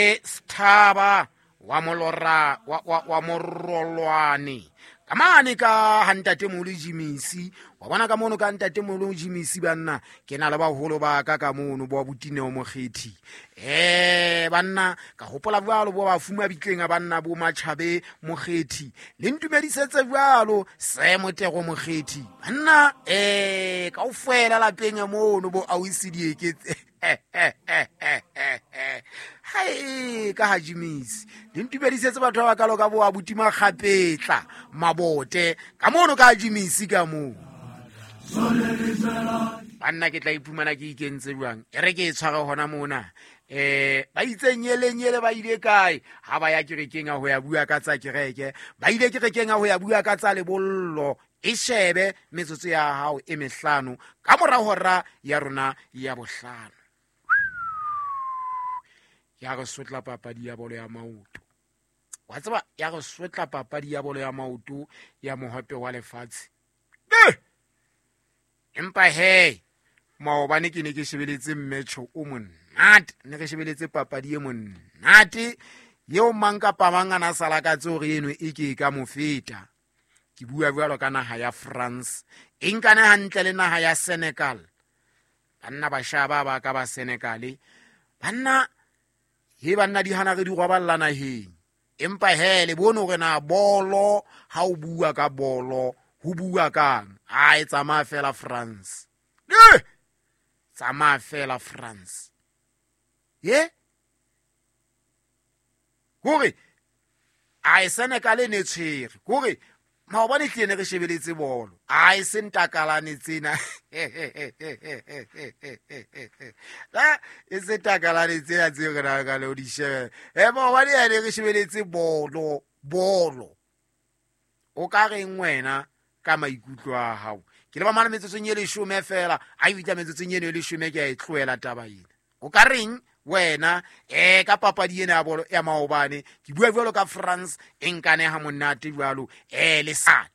Sethaba wa molora wa morolwane ka mane ka ha ntatemoholo Jimisi. Wa bona ka mono ka ntatemoholo Jimisi, banna ke na le baholo ba ka ka mono bo abutineo Mokgethi. Banna ka hopola jwalo bo ba fuma bitleng a banna bo Matjhabe Mokgethi, le ntumedisetse jwalo se Motego Mokgethi. Banna kaofela lapeng mono bo ausi dieketse hai ka ha Jimisi, le ntumedisetse batho ba bakalo ka bo abuti Makgapetla Mabote ka mono ka Jimisi ka moo. Banna ke tla iphumana ke ikentse jwang, e re ke e tshware hona mona. Ba itse nyele nyele ba ile kae ha ba ya kerekeng a ho ya bua ka tsa kereke, ba ile kerekeng a ho ya bua ka tsa lebollo. E shebe metsotso ya hao e mehlano ka mora hora ya rona ya bohlano. Ya re sotla papadi ya bolo ya maoto, wa tseba, ya re sotla papadi ya bolo ya maoto ya mohope wa lefatshe. Empa he maobane ke ne ke shebeletse mmetjho o monate, ne re shebeletse papadi e monate eo mang kapa mang a na sa lakatse hore eno e ke e ka mo feta. Ke bua jwalo ka naha ya France e nkane hantle le naha ya Senegal. Banna ba shaba ba ka ba Senegal, banna he banna di hana re di roballa naheng. Empa he le bone hore na bolo ha o bua ka bolo ho bua kang. A e tsamaya fela France, tsamaya fela France. Ye hore a e Senegal e ne tshwere hore maobane tlile ne re shebeletse bolo, a e se ntakalane tsena e se takalane tsena tseo re nang ka le ho di shebela. Maobane ya ne re shebeletse bolo bolo. O ka reng wena ka maikutlo a hao? Ke le ba mane metsotsong e leshome fela, a e fihla metsotsong eno e leshome ke a e tlohela taba ena. O ka reng wena ka papadi ena ya bolo ya maobane? Ke bua jwalo ka France e nkane ha monate jwalo le sa.